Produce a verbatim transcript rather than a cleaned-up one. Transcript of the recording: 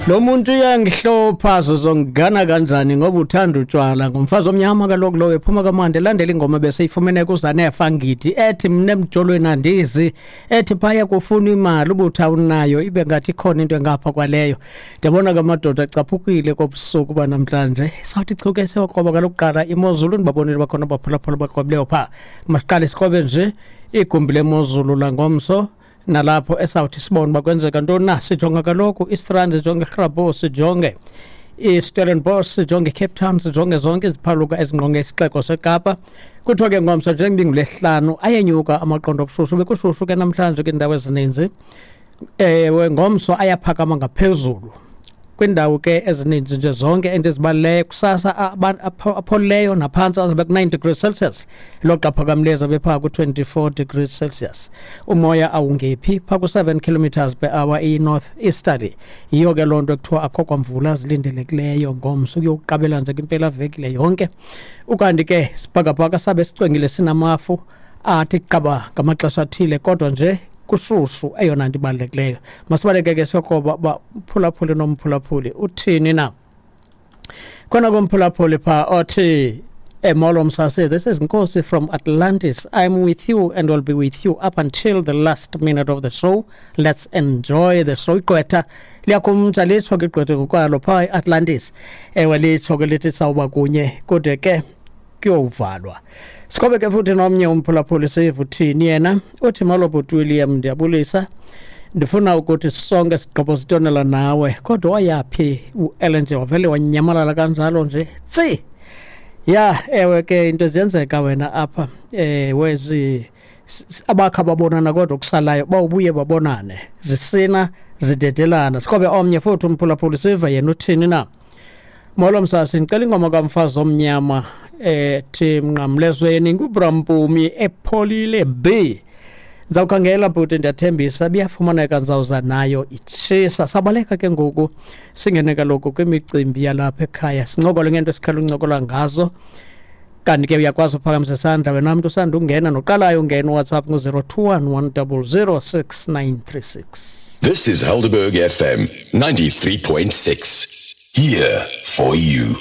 Lo muntu uyangihlopha, sizongana kanjani ngoba uthanda utshwala? Ngumfazi omnyama kaloku lo, ephuma kamandi, elandela ingoma beseyifumene kuZanefa Ngidi ethi mna emjolweni andizi, ethi phaya kufuna imali ubuthi awunayo, ibe ngathi ikhona into engapha kwaleyo. Ndiyabona ke amadoda acaphukile kobusuku banamhlanje. Sawuthi chuke siyokroba kaloku kuqala imozulu, ndibabonile bakhona abaphulaphula bakrobileyo phaa. Masiqale sikrobe nje igumbi lemozulu langomso, nalapho esawuthi sibone uba kwenzeka ntoni na. Sijonga kaloku iStrand, sijonge iGrabouw, sijonge iStellenbosch, sijonge iCape Town, sijonge zonke iziphaluka ezingqonge isixeko seKapa. Kuthiwa ke ngomso njengoba ingulesihlanu ayenyuka amaqondo obushushu. Bekushushu ke namhlanje kwiindawo ezininzi. Ewe, ngomso ayaphakama ngaphezulu kwiindawo ke ezininzi nje zonke endizibalileyo. Kusasa apholileyo naphantsi azabe ku-nine degrees Celsius, loxa aphakamileyo azabe phaa ku-twenty-four degrees Celsius. Umoya awungephi phaa ku-seven kilometers per hour, iyi-north easterly. Yiyo ke loo nto ekuthiwa akho kwamvula zilindelekileyo ngomso ukuyokuqabela nje kwimpelaveki le yonke. Ukanti ke sibhakabhaka sabe sicwengile, sinamafu athi qaba ngamaxesha athile, kodwa nje kushushu eyona nto ibalulekileyo. Masibaleke ke siyokroba uba umphulaphuli nomphulaphuli uthini na. Khona komphulaphuli phaa othi, "Molo Msasi, this is Nkosi from Atlantis. I'm with you and will be with you up until the last minute of the show. Let's enjoy the show." Igqwetha liyakhumtsha, litsho ke igqwetha ngokwalo phaa eAtlantis. Ewe, litsho ke lithi sawuba kunye kude ke kuyovalwa. Sikhobe ke futhi nomnye umphulaphuli, sive uthini yena. Uthi, "Molo bhuti William, ndiyabulisa. Ndifuna ukuthi sonke sigqobo sitonela nawe, kodwa wayaphi uEllen nje, wavele wanyamalala kanjalo nje tsi?" Ya, ewe ke, into ziyenzeka wena apha. eh wezi abakha babonana, kodwa kusalayo bawubuye babonane, zisina zidedelana. Sikhobe omnye futhi umphulaphuli, sive yena uthini na. "Molo msasi, ndicela ingoma kamfazi omnyama ethi Mnqamlezweni, nguBrampumi epholile B." Ndizawukhangela bhuti, ndiyathembisa biyafumaneka, ndizawuza nayo itshisa. Sabaleka ke ngoku singene kaloku kwimicimbi yalapha ekhaya, sincokole ngento esikhela uncokola ngazo. Kanti ke uyakwazi uphakamisa isandla wena mntu usanda ungena noqalayo ungena, uWhatsApp ngu-zero two one one double zero six nine three six. This is Helderberg F M ninety-three point six. Here for you.